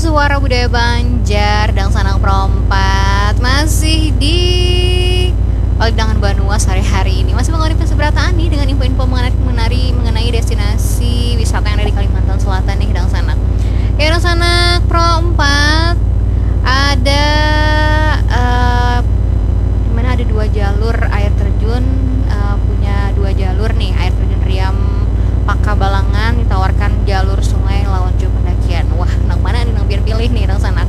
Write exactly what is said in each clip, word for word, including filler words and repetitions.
Suara Budaya Banjar, dangsanak perompat masih di Palidangan Banua sore hari ini. Masih mengawali pesta berataan nih dengan info-info mengenai, mengenai, mengenai destinasi wisata yang ada di Kalimantan Selatan nih, dangsanak. Ya, dangsanak perompat ada, eh, di mana ada dua jalur air terjun, eh, punya dua jalur nih, air terjun Riam Paka Balangan ditawarkan jalur sungai lawan jua pendakian. Wah, nang mana nih nang pian pilih nih, dangsanak?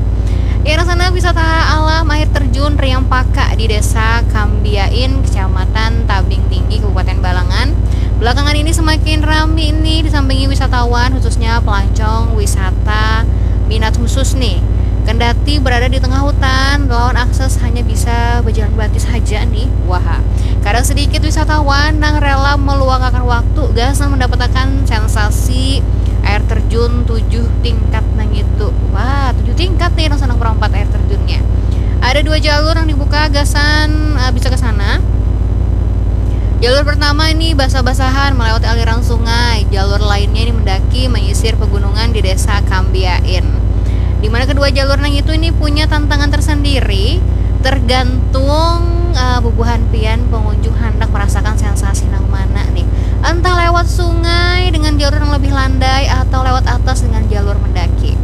Ya, dangsanak, wisata alam air terjun Riam Paka di Desa Kambiain, Kecamatan Tabing Tinggi, Kabupaten Balangan. Belakangan ini semakin rami nih disambangi wisatawan, khususnya pelancong wisata minat khusus nih. Kendati berada di tengah hutan, lawan akses hanya bisa berjalan batis saja nih. Wah, kadang sedikit wisatawan nang rela meluangkan waktu gasan mendapatkan sensasi air terjun tujuh tingkat nang itu. Wah, tujuh tingkat nih, dangsanak perompat, air terjunnya. Ada dua jalur yang dibuka gasan, eh, bisa ke sana. Jalur pertama ini basah-basahan melewati aliran sungai. Jalur lainnya ini mendaki menyisir pegunungan di Desa Kambiain. Di mana kedua jalur nang itu ini punya tantangan tersendiri, tergantung, eh, bubuhan pian pengunjung handak merasakan sensasi nang mana nih. Entah lewat sungai dengan jalur yang lebih landai atau lewat atas dengan jalur mendaki.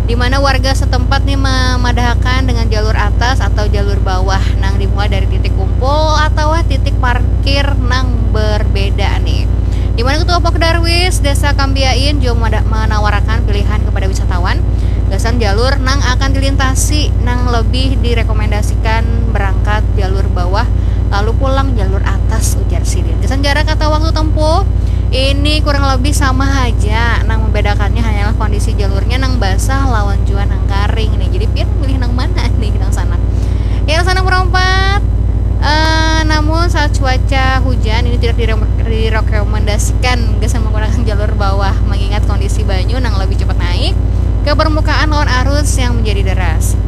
Di mana warga setempat nih memadahakan dengan jalur atas atau jalur bawah nang dimulai dari titik kumpul atau titik parkir nang berbeda nih. Di mana Ketua Pok Darwis Desa Kambiain juga mada-, menawarakan pilihan kepada wisatawan gasan jalur nang akan dilintasi, nang lebih direkomendasikan berangkat jalur bawah lalu pulang jalur atas, ujar sidin. Gasan jarak atau waktu tempuh, ini kurang lebih sama haja, nang membedakannya hanyalah kondisi jalurnya nang basah lawan jua nang karing nih. Jadi pian milih nang mana nih, dangsanak? Ya, dangsanak perompat. Eh, namun saat cuaca hujan, ini tidak dire-, direkomendasikan gasan menggunakan jalur bawah, mengingat kondisi banyu nang lebih cepat naik ke permukaan lawan arus yang menjadi deras.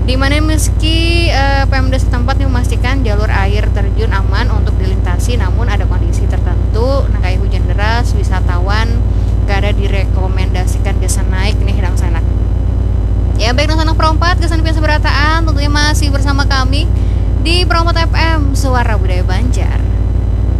Di mana meski, eh, Pemda setempat memastikan jalur air terjun aman untuk dilintasi, namun ada kondisi tertentu, nang kaya hujan deras, wisatawan kada direkomendasikan gasan naik nih, dangsanak. Ya, baik, dangsanak perompat, gasan pian sabarataan, tentunya masih bersama kami di Perompat F M, Suara Budaya Banjar.